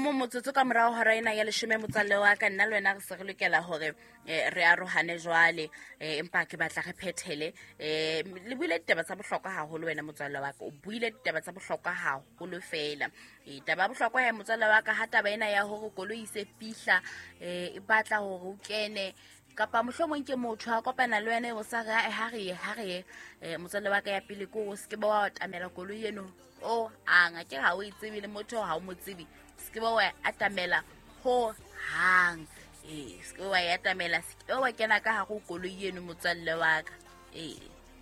mong motsotso ka morago hora ena ya leshome, motswalle wa ka, nna le wena re se re lokela gore re arohane jwale, empa ke batla re phethele. Le buile ditaba tsa bohlokwa haholo, wena motswalle wa ka, o buile ditaba tsa bohlokwa haholo fela. Taba ya bohlokwa ya motswalle wa ka, ha taba ena ya hore koloi e se fihla, e batla hore o kene, kapa mohlomong ke motho a kopana le wena o sa re, ha re ye, ha re ye, motswalle wa ka, ya pele ke o se ke ba wa atamela koloi eno o hang. Ke ha o e tsebe le motho, ha o mo tsebe, se ke ba wa atamela ho hang. Ee, se ke wa e atamela, se ke wa kena ka hare ho koloi eno, motswalle wa ka. Ee,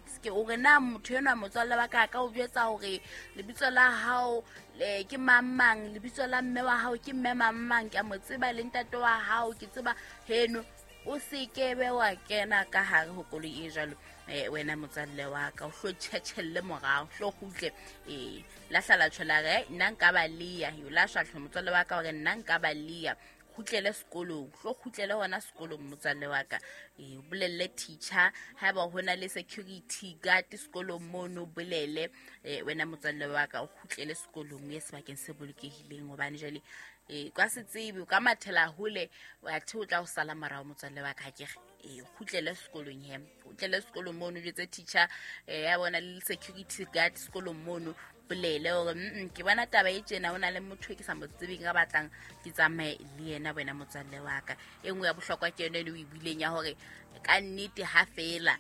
se ke o re na motho enwa, motswalle wa ka, a ka o jwetsa hore lebitso la hao ke mang mang, lebitso la mme wa hao ke mme mang mang, ke a mo tseba, le ntate wa hao ke tseba heno. O se ke be wa kena ka hare ho koloi e jwalo, wena motswalle wa ka, o hlo tjhetjhelle morao, hlo kgutle. Ee, lahla tjho la re nna nka ba leya yo la shwa motswalle wa ka, hore nna nka ba leya. Kgutlele sekolong, hlo kgutlele hona sekolong, motswalle wa ka. Ee, o bolelle teacher, haeba ho na le security guard sekolong mono, bolele, wena motswalle wa ka, o kgutlele sekolong, o ye sebakeng se bolokehileng, hobane jwale ka se tsebe o ka mathela hole, wa the o tla o sala morao, motswalle wa ka. Ke re ee, kgutlele sekolong he, kgutlele sekolong mono, jwetse teacher, ya bona le security guard sekolong mono, bolele hore ke bona taba e tjena, ho na le motho e ke sa mo tsebeng a batlang ke tsamaye le yena, wena motswalle wa ka. E nngwe ya bohlokwa ke yone e le o e buileng ya hore ka nnete ha fela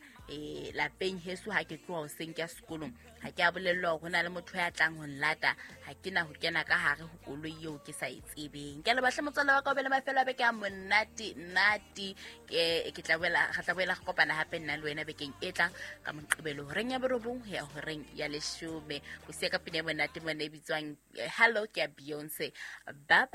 lapeng heso, ha ke tloha hoseng ke ya sekolong, ha ke a bolellwa hore ho na le motho ya tlang ho nlata, ha ke na ho kena ka hare ho koloi eo ke sa e tsebeng. Ke a leboha hle, motswalle wa ka, o be le mafelo a beke a monate nate. Ke tla boela, re tla boela re kopana hape nna le wena bekeng e tlang ka Moqebelo horeng ya 9 ho ya horeng ya 10. O siya ka pina ya monate mona e bitswang Hello, ke ya Beyonce. Bye bye.